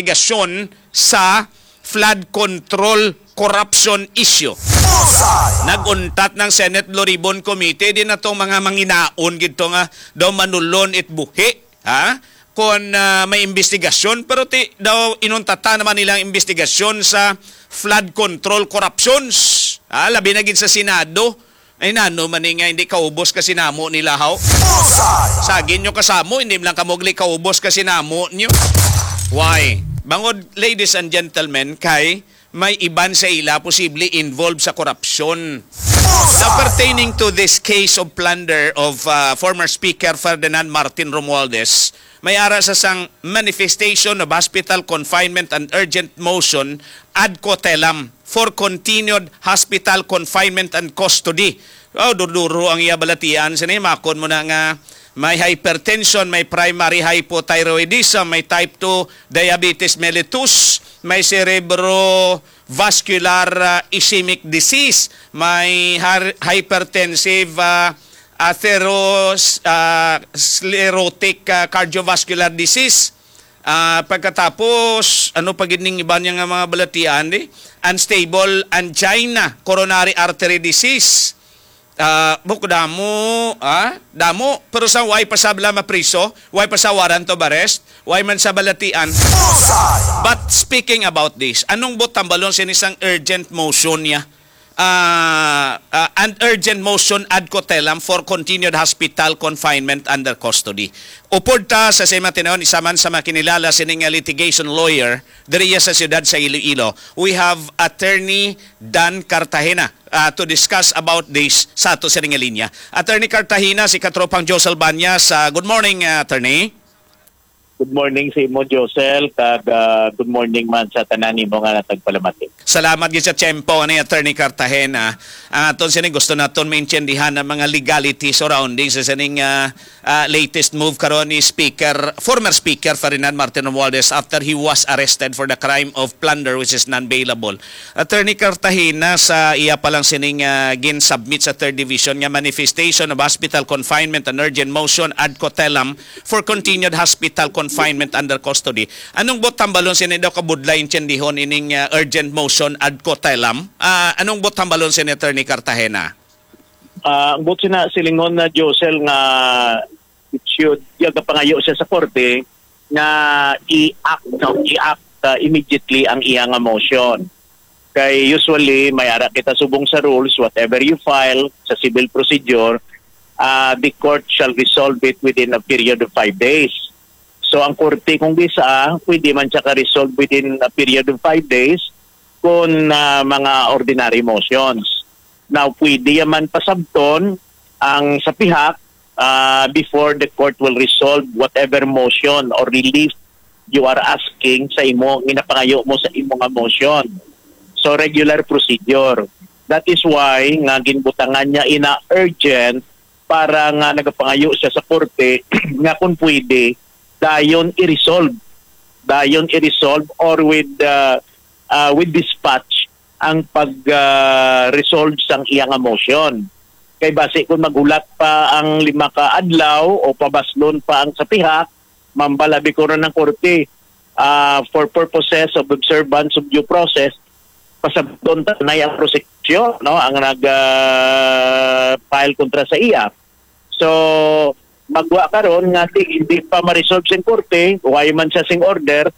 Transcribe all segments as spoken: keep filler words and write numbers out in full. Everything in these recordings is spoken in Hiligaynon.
investigasyon sa flood control corruption issue. Nag-untat ng Senate Blue Ribbon Committee din natong mga manginaon gid to nga daw manulon it buhi, ha? Kon, ah, may investigasyon, pero ti daw inuntata naman nilang investigasyon sa flood control corruptions, ha? Labi na gid sa Senado. Ay, nano man ni nga hindi kaubos ka sinamo nila, haw? Sagin nyo kasamo, hindi man lang kamo gali kaubos ka sinamo nyo. Why? Bangod, ladies and gentlemen, kay may iban sa ila posible involved sa korupsyon. Now, pertaining to this case of plunder of, uh, former Speaker Ferdinand Martin Romualdez, may ara sa sang manifestation of hospital confinement and urgent motion ad coetelam for continued hospital confinement and custody. Oh, durduro ang iya balatian sini. Makon mo na nga may hypertension, may primary hypothyroidism, may type two diabetes mellitus, may cerebrovascular, ah, ischemic disease, may har- hypertensive, ah, atheros-, ah, sclerotic, ah, cardiovascular disease. Ah, pagkatapos, ano pa gid ning iba niya nga mga balatian, di? Unstable angina, coronary artery disease. Ah, buk damo, ah, damo. Pero sa way pa sabla mapriso, way pa sa warrant of arrest, way man sa balatian. But speaking about this, anong buot tambalon sini sang urgent motion niya? Ah, ah, an urgent motion ad coetelam for continued hospital confinement under custody. Upod ta sa sima tinuon, isa man sa mga kinilala sining nga litigation lawyer diriya sa siyudad sa Iloilo. We have Attorney Dan Cartagena, ah, to discuss about this sa ato sining nga linya. Attorney Cartagena, si Katropang Josel Banyas. Ah, good morning, ah, Attorney. Good morning sa imo, Josel, kag, ah, good morning man sa tanan nimo nga natagpalamati. Salamat gid sa tiyempo ani, Attorney Cartagena. Ang aton sini gusto naton maintindihan ang mga legalities surrounding sa sining, ah, ah, latest move karon ni Speaker, former Speaker Ferdinand Martin Romualdez after he was arrested for the crime of plunder which is non-bailable. Attorney Cartagena, sa iya pa lang sining, ah, gin-submit sa Third Division nga manifestation of hospital confinement and urgent motion ad coetelam for continued hospital confinement under custody. Anong buot tambalon sini daw kabudlay intindihon ining, ah, urgent motion ad coetelam? Ah, anong buot tambalon sini, Attorney Cartagena? Ah, ang buot sina silingon na, Josel, nga it should, ya gapangayo siya sa korte nga i-act, no, i-act, ah, immediately ang iya nga motion. Kay usually, may ara kita subong sa rules, whatever you file sa civil procedure, ah, the court shall resolve it within a period of five days. So, ang korte, kung bisa, pwede man siya ka-resolve within a period of five days kung, ah, mga ordinary motions. Now, pwede ya man pasabton ang sa pihak, ah, before the court will resolve whatever motion or relief you are asking sa imo, ginapangayo mo sa imo nga motion. So, regular procedure. That is why nga ginbutangan niya ina urgent para nga nagapangayo siya sa korte nga kung pwede, dayon i-resolve. Dayon i-resolve or with, uh, uh, with dispatch ang pag, uh, resolve sang iya nga motion. Kay basi kung maghulat pa ang lima ka adlaw o pabaslon pa ang sa pihak, mambalabi ko na ng korte, ah, for purposes of observance of due process, pasabton ta na ang prosecution, no, ang nag, ah, file kontra sa iya. So, magwa karon nga di, hindi pa ma-resolve sing korte, way man siya sing order,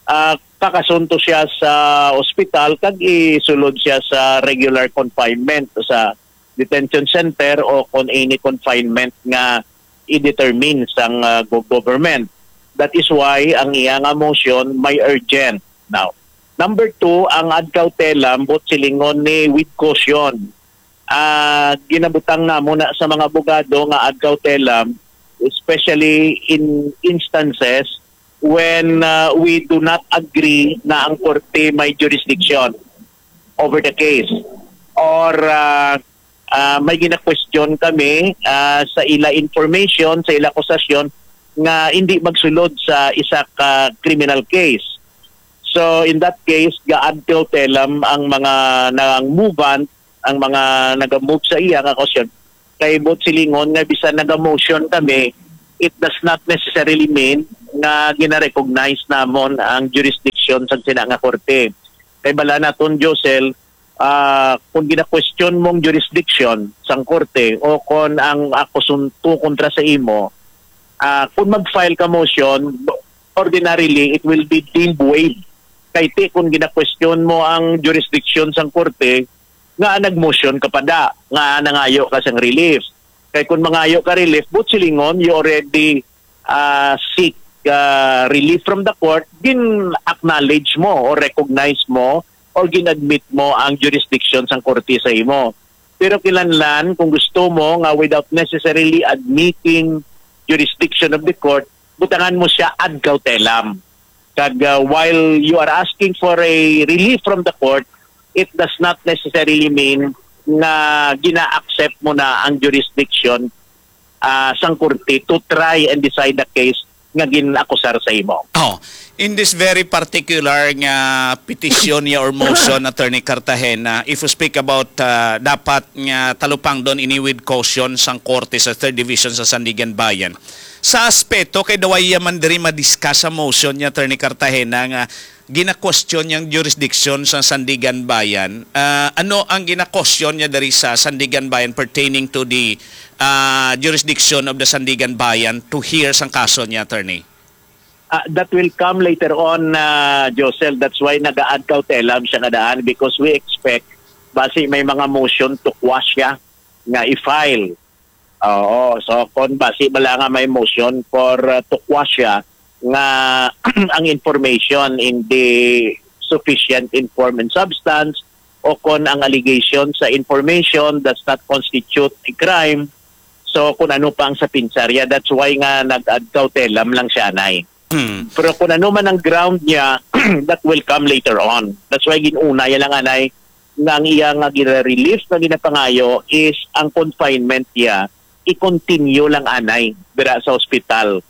ah, kakasunto siya sa ospital kag isulod siya sa regular confinement sa detention center o kung any confinement nga i-determine sang, ah, go-, government. That is why ang iya nga motion may urgent. Now, number two, ang ad cautelam, buot silingon ni with caution. Ah, ginabutang namo na sa mga abogado nga ad cautelam, especially in instances when, ah, we do not agree na ang korte may jurisdiction over the case, or, ah, ah, may gina-question kami, ah, sa ila information, sa ila akusasyon nga hindi magsulod sa isa ka criminal case. So, in that case, ga-ad cautelam ang mga nang movant, ang mga naga-move sa iya nga akusasyon. Kay buot silingon nga bisan naga-motion kami, it does not necessarily mean nga gina-recognize namon ang jurisdiction jurisdiction sang sina nga korte. Kay bala naton, Josel, ah, kung gina-question mong jurisdiction sang korte o kon ang akusunto kontra sa imo, ah, kung mag-file ka motion, ordinarily, it will be deemed waived. Kay ti, kung gina-question mo ang jurisdiction sang korte, nga nag-motion ka pa da, nga nangayo ka sang relief. Kay kung mangayo ka relief, but silingon, you already, ah, seek, ah, relief from the court, gin-acknowledge mo or recognize mo or gin-admit mo ang jurisdiction sang korte sa imo. Pero kinahanglan, kung gusto mo nga without necessarily admitting jurisdiction of the court, butangan mo siya ad cautelam. Kag, uh, while you are asking for a relief from the court, it does not necessarily mean nga gina-accept mo na ang jurisdiction, ah, sang korte to try and decide the case nga gin-akusar sa imo. Oh, in this very particular nga petition niya or motion, Attorney Cartagena, if you speak about, uh, dapat nga talupangdon ini with caution sang korte sa Third Division sa Sandiganbayan, sa aspeto kay daw iya man diri ma-discuss sa motion niya, Attorney Cartagena, nga gina-question yang jurisdiction sa Sandiganbayan. Ah, ano ang gina-question niya diri sa Sandiganbayan pertaining to the, ah, jurisdiction of the Sandiganbayan to hear sang kaso niya, attorney? Ah, that will come later on, ah, Josel. That's why naga-ad cautelam siya nga daan, because we expect basi may mga motion to quash siya nga i-file. Oo, so kung basi bala nga may motion for, uh, to quash siya nga ang information in the sufficient in form and substance o kon ang allegation sa information does not constitute a crime, so kung ano pa ang sa pinsarya, that's why nga nag-ad cautelam lang siya, anay. Hmm. Pero kung ano man ang ground niya, that will come later on. That's why ginuna niya lang, anay, nga ang iya nga gina-relief nga ginapangayo is ang confinement niya i-continue lang, anay, dira sa ospital,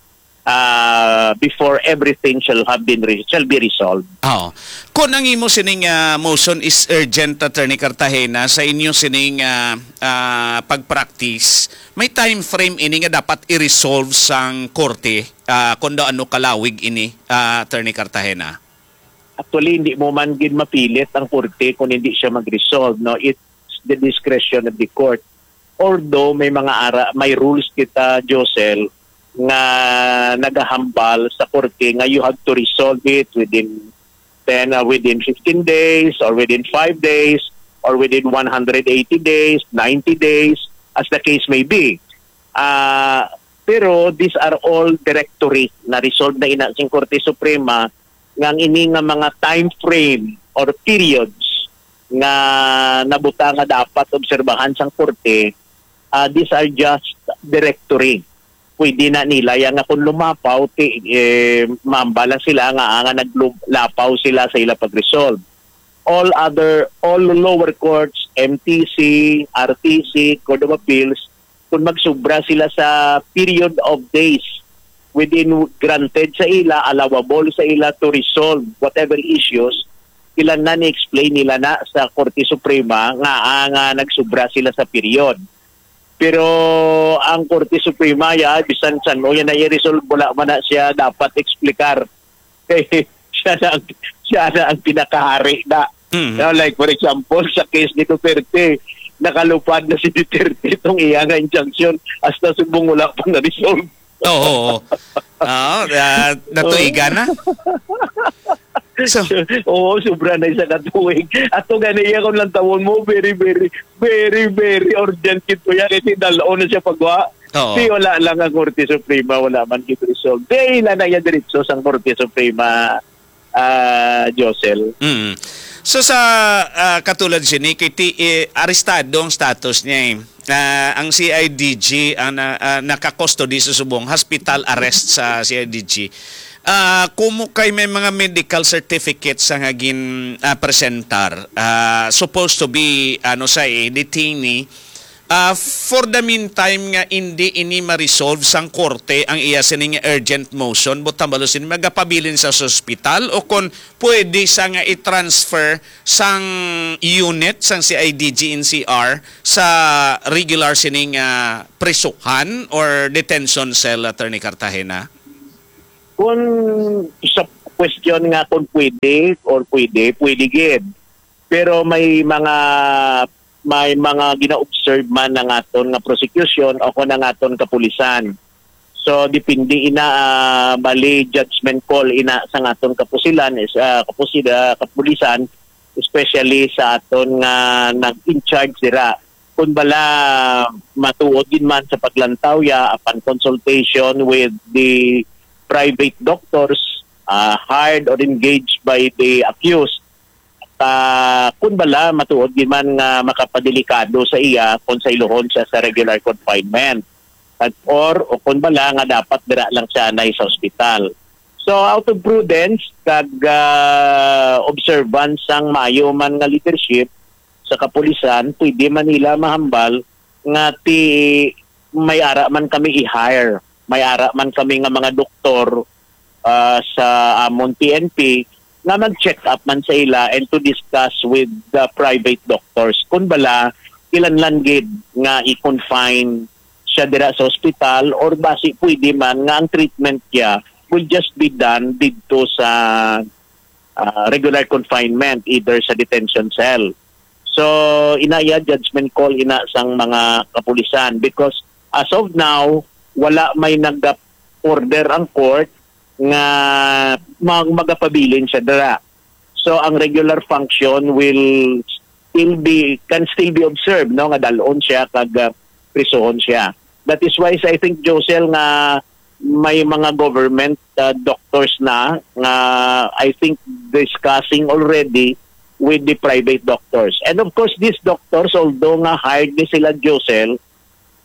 ah, before everything shall have been re-, shall be resolved. Oo. Kung ang imo sining, ah, motion is urgent, Attorney Cartagena, sa inyo sining, ah, ah, pag-practice, may time frame ini nga dapat i-resolve sang korte, ah, kung daw ano kalawig ini, ah, Attorney Cartagena? Actually, hindi mo man gid mapilit ang korte kung hindi siya mag-resolve, no? It's the discretion of the court. Although may mga ara, may rules kita, Josel, nga nagahambal sa korte nga you have to resolve it within ten, uh, within fifteen days or within five days or within one hundred eighty days, ninety days, as the case may be. Ah, pero these are all directory na resolved na ina sing Korte Suprema nga ang ini nga mga time frame or periods nga nabutang nga dapat obserbahan sang korte, ah, these are just directory. Pwede na nila yan nga kung lumapaw, ti, eh, mambala sila nga, ah, nga naglapaw sila sa ila pag-resolve. All other, all lower courts, M T C, R T C, Court of Appeals, kung magsubra sila sa period of days within granted sa ila, allowable sa ila to resolve whatever issues, ila na ni-explain nila na sa Korte Suprema nga, ah, nga nagsubra sila sa period. Pero ang Korte Suprema, ya, bisan san-o yan na i-resolve, wala man na siya dapat explicar. Kay siya na ang, siya na ang pinakahari na. Mhm. No, like, for example, sa case ni Duterte, nakalupad na si Duterte itong iya nga injunction hasta subong wala pa na-resolve. Oo, oo. Oo, ah, natuigan na. So, oo, sobra na isa ka tuig. Ato gani iya kung lang tawon mo, very, very, very, very urgent kito yan. Kasi dalaw na siya pagwa. Oo. Di wala lang ang Korte Suprema, wala man gid resolve. Di ila na iya diretso sang Korte Suprema, ah, Josel. Mm. So sa, ah, katulad sini, kay ti, eh, arestado ang status niya eh. Ah, ang C I D G ang na, ah, naka-custody sa subong hospital arrest sa C I D G. Ah, kumo kay may mga medical certificates sa nga gin, ah, presentar, ah, supposed to be, ano, sa, eh, detainee. Ah, for the meantime nga indi ini ma-resolve sang korte ang iya sini nga urgent motion, butang balo sini magapabilin sa, sa ospital o kon pwede sa nga i-transfer sang unit sang C I D G N C R sa regular sining, ah, prisuhan or detention cell, Attorney Cartagena? Kung sa, question nga kung pwede or pwede, pwede gid. Pero may mga, may mga gina-observe man ang aton nga prosecution o kung ang aton kapulisan. So, depende ina, ah, bali judgment call ina sa aton kapusilan, is, ah, kapusi-, ah, kapulisan, especially sa aton nga nag-in-charge dira. Kung bala matuod gid man sa paglantaw ya, upon consultation with the private doctors, ah, hired or engaged by the accused, ah, kung bala matuod gid man nga makapadelikado sa iya kung sa iluhon siya sa regular confinement, at, or, o kung bala nga dapat dira lang siya anay sa ospital. So, out of prudence kag, ah, observance sang maayo man nga leadership sa kapulisan, pwede man nila mahambal nga ti may ara man kami i-hire, may ara man kami nga mga doktor, ah, sa amon P N P nga mag-check up man sa ila and to discuss with the private doctors kung bala kinahanglan gid nga i-confine siya dira sa ospital or basi pwede man nga ang treatment niya will just be done didto sa, ah, regular confinement, either sa detention cell. So, ina iya judgment call ina sang mga kapulisan because as of now, wala may nag-order ang court nga mag-, magapabilin siya dira. So, ang regular function will still be, can still be observed, no, nga dalon siya kag, ah, prisuhon siya. That is why I think, Josel, nga may mga government, ah, doctors na nga I think discussing already with the private doctors. And of course, these doctors, although nga hired ni sila, Josel,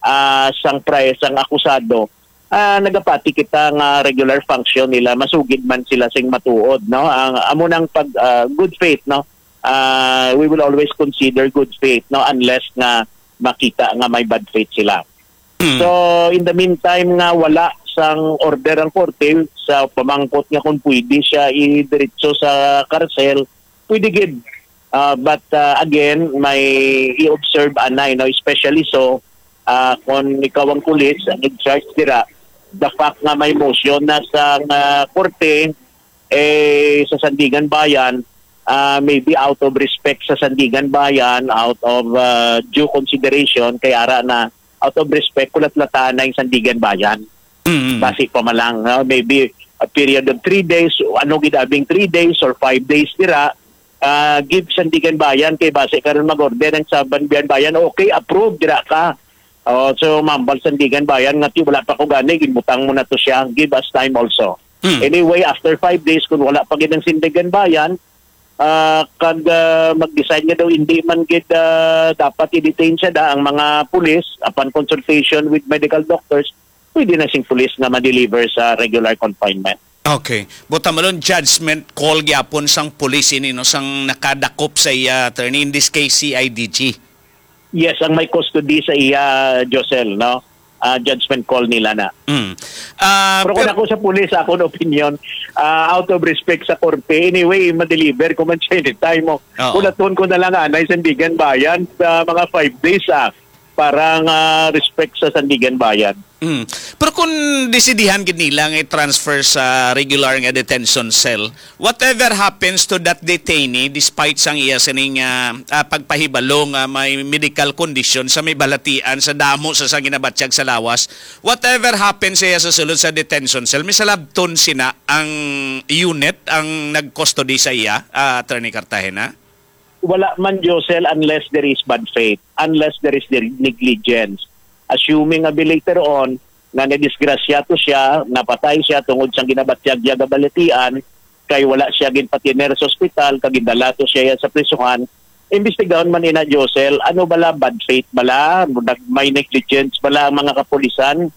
ah, sang pri-, sang akusado, ah, nagapati kita nga regular function nila, masugid man sila sing matuod, no? Ang amo nang pag, ah, good faith, no? Ah, we will always consider good faith, no, unless nga makita nga may bad faith sila. So, in the meantime nga wala sang order ang korte sa pamangkot nga kung pwede siya idiretso sa karsel, pwede gid. Ah, but, ah, again, may i-observe anay, no, especially so, ah, kung ikaw ang pulis, ang in charge dira, the fact nga may motion na sa, ah, korte, eh, sa Sandiganbayan, ah, maybe out of respect sa Sandiganbayan, out of, ah, due consideration, kay ara na out of respect, kulat-latan na yung Sandiganbayan. Mm. Basi pa man lang, no? Maybe a period of three days, ano gid abing three days or five days dira, ah, give Sandiganbayan kay basi karon mag-order ang Sandiganbayan, okay, approve dira ka. Oh, so mambal Sandiganbayan nga, "Ti, wala pa ko gani, gibutang mo na to siya, give us time also." Mm. Anyway, after five days, kung wala pa gid ang Sandiganbayan, ah, kag, ah, mag-decide nga daw hindi man gid, ah, dapat i-detain siya da ang mga pulis, upon consultation with medical doctors, pwede na sing pulis nga ma-deliver sa regular confinement. Okay. Buta malon judgment call gyapon sang pulis ini, no, sang nakadakop sa iya, attorney, in this case, C I D G. Yes, ang may custody sa iya, Josel, no? Ah, judgment call nila na. Mm. Ah, Pero kung pero ako sa pulis, akong opinion, ah, out of respect sa korte, anyway, ma-deliver ko man siya anytime mo. Oo. Kulaton ko na lang anay Sandiganbayan sa mga five days, ah, para nga respect sa Sandiganbayan. Mm. Pero kung desidihan gid nila nga i-transfer sa regular nga detention cell, whatever happens to that detainee, despite sang iya sining, ah, ah, pagpahibalo nga may medical condition sa may balatian sa damo sa sang ginabatyag sa lawas, whatever happens sa iya sa sulod sa detention cell, may salabton sina ang unit ang nag-custody sa iya, ah, Attorney Cartagena? Wala man, Josel, unless there is bad faith, unless there is the negligence. Assuming abi later on nga nadisgrasya to siya, napatay siya tungod sang ginabatyag niya nga balatian, kay wala siya ginpatiner sa ospital, kag gindala to siya sa prisuhan, imbestigahon man ina, Josel, ano bala, bad faith bala, nag-, may negligence bala ang mga kapulisan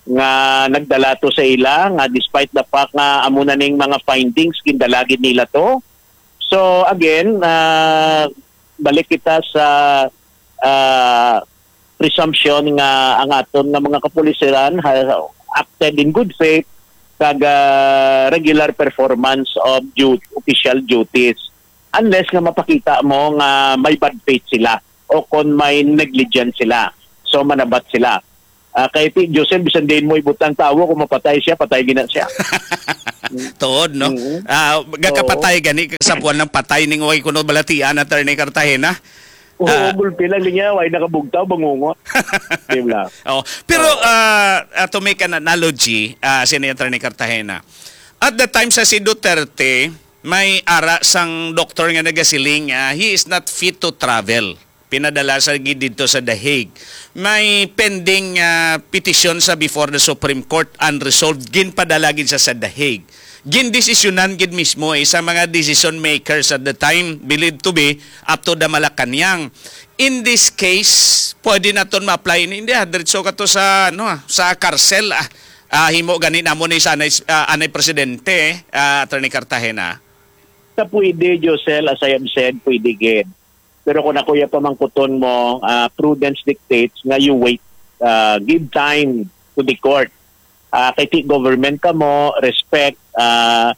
nga nagdala to sa ila, nga despite the fact nga amo na ning mga findings, gindala gid nila to. So, again, ah, balik kita sa, ah, presumption nga ang aton nga mga kapulisan ha-, acted in good faith kag, ah, regular performance of du-, official duties, unless nga mapakita mo nga may bad faith sila o kon may negligence sila. So, manabat sila. Ah, kay ti, Joseph, bisan diin mo ibutang tawo, kung mapatay siya, patay gina siya. Tuod, no? Mm. Ah, gakapatay Oo. gani ka sa buwan ng patay ning way kuno balatian, Attorney Cartagena. Oo, Ah. gulpi lang niya, way nakabugtaw, bangungot. Di ba? Oh, pero Oo. ah, ah, to make an analogy, ah, sini Attorney Cartagena. At the time sa si Duterte, may ara sang doktor nga nagasiling, ah, he is not fit to travel. Pinadala sa gid didto sa The Hague. May pending ah, petition sa before the Supreme Court, unresolved, ginpadala gid sa sa The Hague. Gindesisyonan gid mismo isa mga decision makers at the time, believed to be up to the Malacañang. In this case, pwede naton ma-apply ini, hindi ah, diretso ka to sa ano ah, sa karsel ah. Ah, himo gani namo ni sa anay, ah, anay presidente, ah, Attorney Cartagena. Sa pwede, Josel, as I have said, pwede gid. Pero kung ako ya pamangkuton mo, ah, prudence dictates nga you wait, ah, give time to the court. Ah, kay ti government ka mo, respect, ah,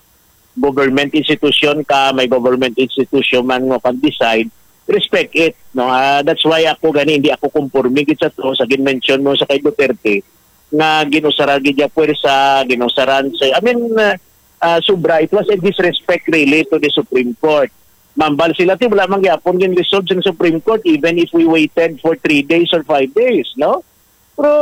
government institution ka, may government institution man nga kan decide, respect it, no? Ah, that's why ako gani hindi ako conforme gid sa to sa gin-mention mo sa kay Duterte nga ginusaran gid niya puwersa, ginusaran sa, I mean, ah, ah, sobra. It was a disrespect really to the Supreme Court. Mambal sila ti wala man gyapon gin-resolve sa Supreme Court even if we waited for three days or five days, no? Pero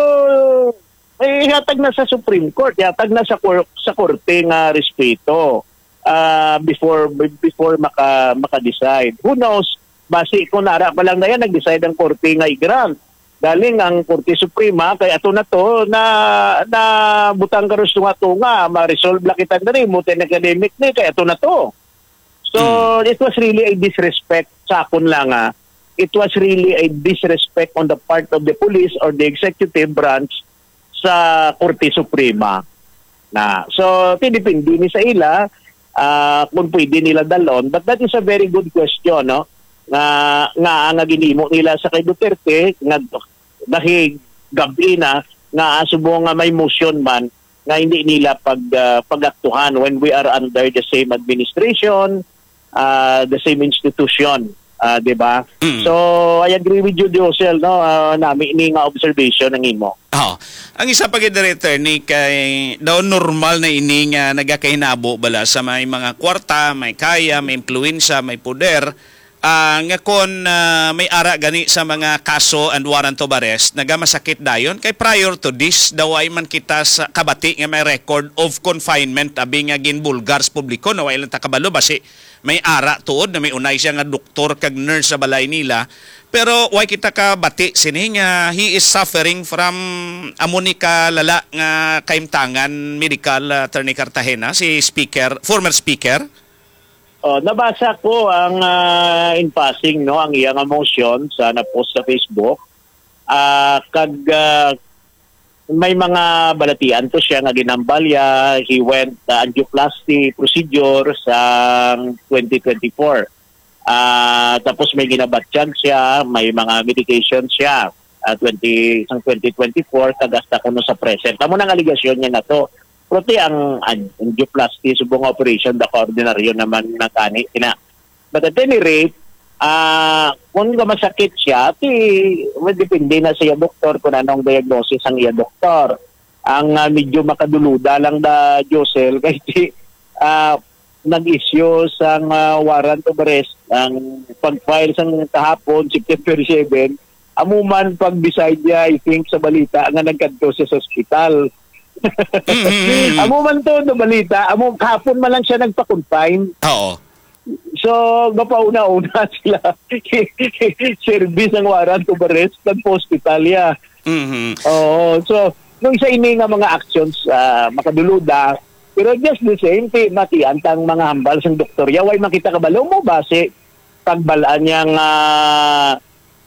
eh, ihatag na sa Supreme Court, ihatag na sa kor- sa korte nga respeto ah, before before maka maka-decide. Who knows? Basi kung nara pa lang na yan, nag-decide ang korte nga i-grant. Galing ang Korte Suprema, kay ato na to, na, na butang ka rin tunga-tunga, ma-resolve lang kita na rin, mo academic ni, kay ato na to. So, Mm. it was really a disrespect sa akon lang, ah. It was really a disrespect on the part of the police or the executive branch sa Korte Suprema. Na, so, depende ni sa ila ah, kung pwede nila dalon. But that is a very good question, no? Nga, nga, nga ginimo nila sa kay Duterte, nga dahil gabi na, nga asubo nga may motion man, nga hindi nila pag, ah, pag-aktuhan when we are under the same administration, ah, the same institution, ah, di ba? Mm. So, I agree with you, Josel, no? Ah, nami ni nga observation ang imo. Oh, ang isa pa gid, Director, ni kay daw normal na ini nga nagakahinabo bala sa may mga kwarta, may kaya, may impluwensya, may poder, ah, nga kon, ah, may ara gani sa mga kaso and warrant of arrest, nagamasakit dayon. Kay prior to this, daw ay man kita sa kabati nga may record of confinement, abi nga ginbulgar sa publiko, na wala lang ta kabalo, basi may ara tuod na may unay siya nga doktor kag nurse sa balay nila. Pero way kita kabati sini nga he is suffering from amo ni ka lala nga kaimtangan medical, ah, Attorney Cartagena, si speaker, former speaker. Oh, nabasa ko ang, ah, in passing, no, ang iya nga motion sa na-post sa Facebook. Ah, kag, ah, may mga balatian to siya nga ginambalya. He went, ah, angioplasty procedure sa twenty twenty-four. Ah, tapos may ginabatyag siya, may mga medication siya, ah, twenty, sang twenty twenty-four, kag hasta kuno sa present. Amo nang aligasyon niya na to. Pero ti ang an-, angioplasty, subong nga operation, da ka ordinaryo naman na gani. Ina, But at any rate, ah, kung nga masakit siya, ti, well, depende na sa iya doktor kung anong diagnosis ang iya doktor. Ang, ah, medyo makaduluda lang da, Josel, kay ti, ah, nag-issue sang, ah, warrant of arrest ang pag-file sang kahapon, September seven, amo man pag-decide niya, I think, sa balita nga nagkadto siya sa ospital. Mm, mm, mm. Amo man to na balita, amo kahapon man lang siya nagpa-confine. Oo. So, gapauna-una sila. Service ang warrant of arrest, nagpa-hospital ya. Mhm. Oo. So, nung isa ini nga mga actions, ah, makaduluda, pero just the same, ti, matian tang mga hambal sang doktor ya, way makita kabalo mo ba si pagbalaan niya nga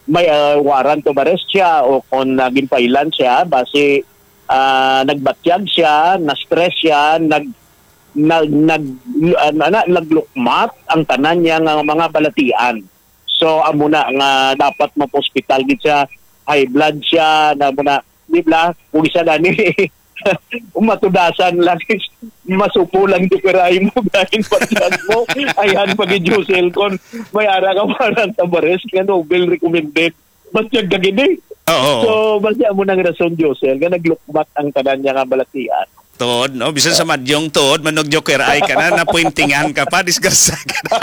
may, ah, warrant of arrest siya o kung, ah, ginpailan siya, basi, ah, nagbatyag siya, na-stress siya, nag-, nag-, nag-, ah, na, na, naglukmat ang tanan niya nga mga balatian. So, amo na nga dapat mapaospital gid siya, high blood siya, na amo na, di ba? Kung isa gani, matudasan lang, masupo lang di kiray mo, gahin pa mo, ayhan pa gid Josel, kon may ara ka warrant of arrest, nga no bail recommended, batyag ka gid eh. Oo. So, basi amo nang rason, Josel, nga naglukmat ang tanan niya nga balatian. Tuod, no? Bisan sa madyong tuod, manog joker ay ka na, napuintingan ka pa, disgrasya ka na.